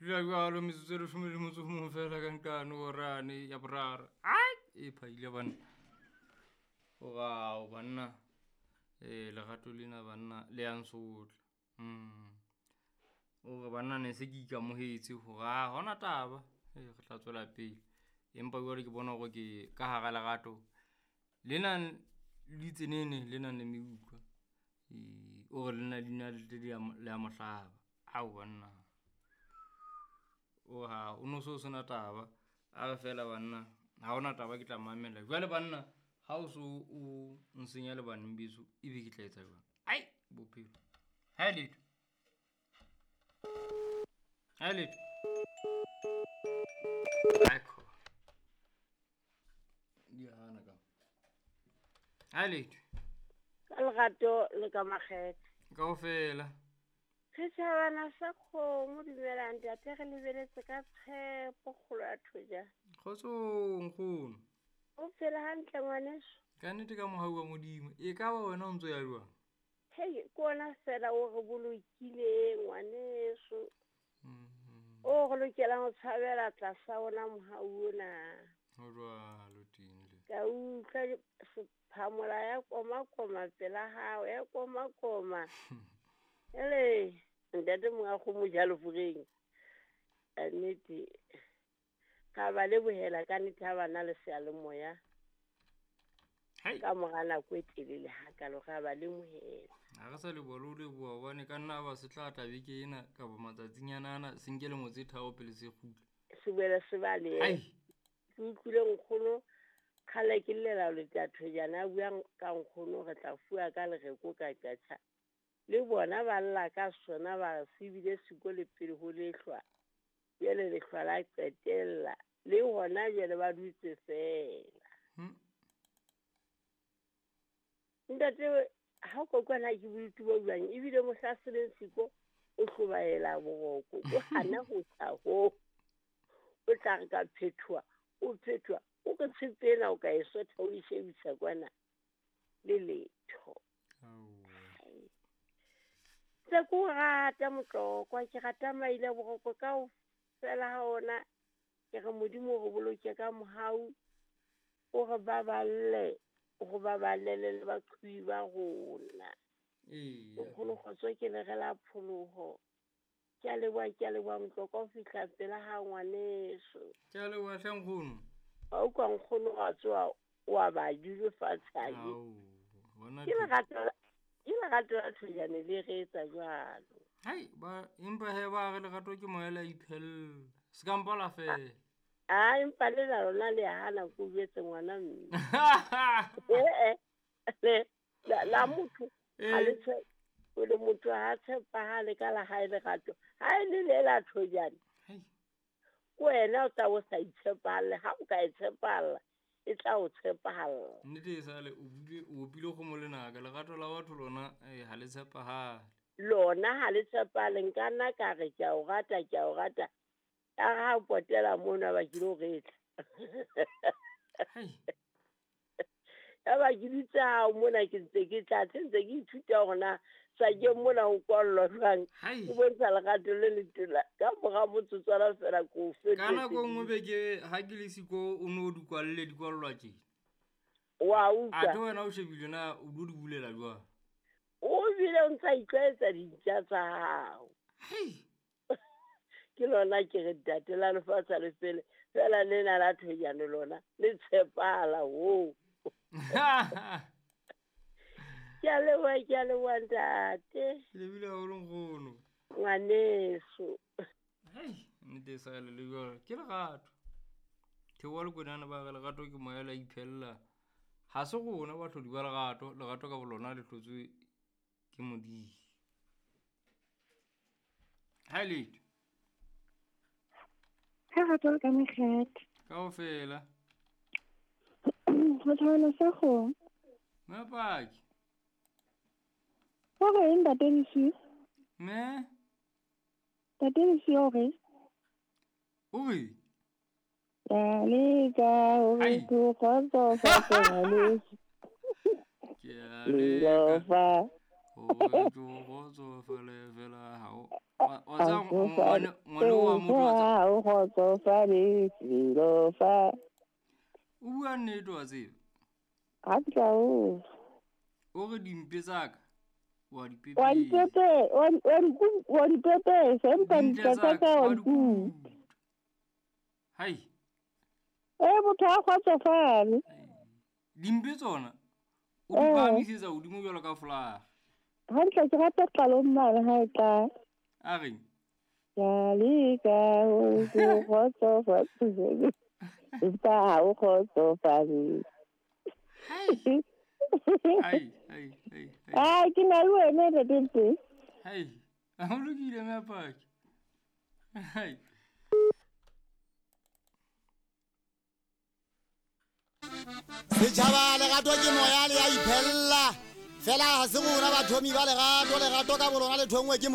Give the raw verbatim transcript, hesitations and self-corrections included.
Dula jwalo metsotso e leshome le motso o mong fela ka nqane horane ya boraro. Ai, e phaile banna. Orao banna. Eh lerato lena banna le ya nsotla. Mm. Ore banna ne se ke ikamohetse hore ha hona taba. Eh re tla tswela pele. Empa jwale ke bona hore ke ka hara lerato le nang le ditsenene, le nang le meutlwa. Eh ore le nna leina le a mohlaba. Ao banna. O ha o no so sena taba. A re fela banna ha hona taba ke tla mamela. Jwale banna ha o so o nsenya le baneng beso, ebe ke tla etsa jwang? Ai bophelo. Ha letho. Ha letho. Akho. Di hana ka. Ha letho. Ka lerato le ka makgethe. Kaofela. Setjhabana sa kgomo dumelang ntate, re lebeletse ka tshepo kgolo ya thoja. Kgotsong nkgono. O phela hantle ngwaneso? Ka nnete ka mohau wa Modimo. E ka ba wena o ntso ya jwang? Hei, ke ona fela o re bolokileng ngwaneso. Mm-hmm. O re lokelang ho tshabela tlasa ona mohau ona. Ho jwalo teng le. Ka utlwa sephamola ya koma koma pela hao, ya koma koma. Ele ntate monga kgomo jalo fureng. Ka nnete ka ba lebohela ka nnete ha bana le seyalemoya. Hai. Ka mora nako e telele hakalo ra ba lemohela. Ha re sa leboha le ho leboha hobane ka nna ba se tla tla beke ena kapa matsatsinyana ana se nke lemo tse tharo pele se kgutla. Se boele se balehe. Hai. Ke utlwile nkgono kgale ke llela le thojana a buang ka nkgono re tla fuwa ka lereko ka tjatjha. Le bona ba lla ka sona ba re se bile siko le pele ho lehlwa. Jwale lehlwa la qetella. Le hona jwale ba dutse fela. Hmm. Ntate ha o kokwana ke bodutu bo jwang ebile mohla se leng siko o hlobaela boroko o hana ho tla ho. O tla re ka phethoha, o phethoha, o re tshepe ena o ka e sotha o e shebisa kwana le letho. Aowa. Tse ko rata motlokwa, ke rata maile boroko kaofela ha ona. Ke re Modimo o re boloke ka mohau, o re baballe, o re baballele le baqhubi ba rona. Eya. Nkgono kgotso ke le re la pholoho. Ke a leboha, ke a leboha motlokwa ho fihla pela ha ngwaneso. Ke a leboha hle nkgono. Ha o kwa nkgono wa tsoha wa ba dule fatshe ha ke. Ao, bona Ke tho- lerato la, ke lerato la thojane le re etsa jwalo. Hai, ba empa he ba re lerato ke moya le a iphella. Se ka mpa la fela. A empa le la lona le hana ko jwetse ngwana mme. Eh, eh, le, la, la motho, ha le Eh. tshe-, o le motho ha tshepahale ka la hae lerato. Ha e le le la thojane. Hai. Ke wena o tla o sa itshepahalle, ha o ka e tshepahalla, e tla o tshepahalla. Nnete e sale o bule, o opile kgomo lenaka, lerato la batho lona, eh, ha le tshepahale. Lona ha le tshepahale, nka nna ka re ke a o rata, ke a o rata. Ya re ha o potela mona ba ke lo retla. Hai. Ya ba ke dutse hao mona ke ntse ke tla, ntse ke ithuta hore na sa ke mona ho kwallwa jwang. Hai. O bontsha lerato le letona. Ka mora motsotswana fela ko o fetetse. Ka nako e nngwe be ke ha ke le siko o no di kwalle, di kwallwa tje. Wa utlwa. Athe wena o shebile na o do di bulela jwang? O bile o ntsa itlwaetsa dintja tsa hao. Hai. Ke lona ke re ntate la lefatshe le fele, fela lena la thojane lona le tshepahala ho. Ke a leboha, ke a leboha ntate. Ke lebile haholo nkgono. Ngwaneso. Hei, nnete e sa le le jwalo. Ke lerato. Theoha lekwenana ba re lerato ke moya le a iphella. Ha se rona bahlodi ba lerato, lerato ka bolona le hlotswe ke Modimo. Ha letho. Ha rato le ka mekgethe. Kaofela. Ho tshwana sa kgomo. Mme Paki. O reng ntate Lesiu? Mme? Ntate Lesiu o reng? O reng? Ya leka hore Ai. ke o kgotsofatse ngwaneso. Ke a leka Lelofa. hore ke o kgotsofale fela ha o- wa- wa tseba Ha o ngwane, ngwane wa wa motho wa tseba. Ha o kgotsofale felo fa. O bua nnete wa tseba. Hantle haholo. O re dimpe tsa ka wa di Wa pepesa. dipepe wa wa di wa di pepesa empa Dintle ditla tsa tsa ka ka wa wa di di kuta. kuta. Hai. Eh motho ha kgotsofale. Dimpe tsona o di Eh. phahamisetsa hodimo jwalo ka folaga. Hantle ke rata qalong mane ha e qala. A reng? Ka leka ho ho kgotsofatse empa ha o kgotsofale. Hai. Hai, hai, hai, hai. Ah, ke na le wena ntate Mpe. Hai. Ha o lokile mme Paki. Hai. Setjhaba lerato ke moya le ya iphella. Fela ha se rona bathomi ba lerato, lerato ka bolona le thongwe ke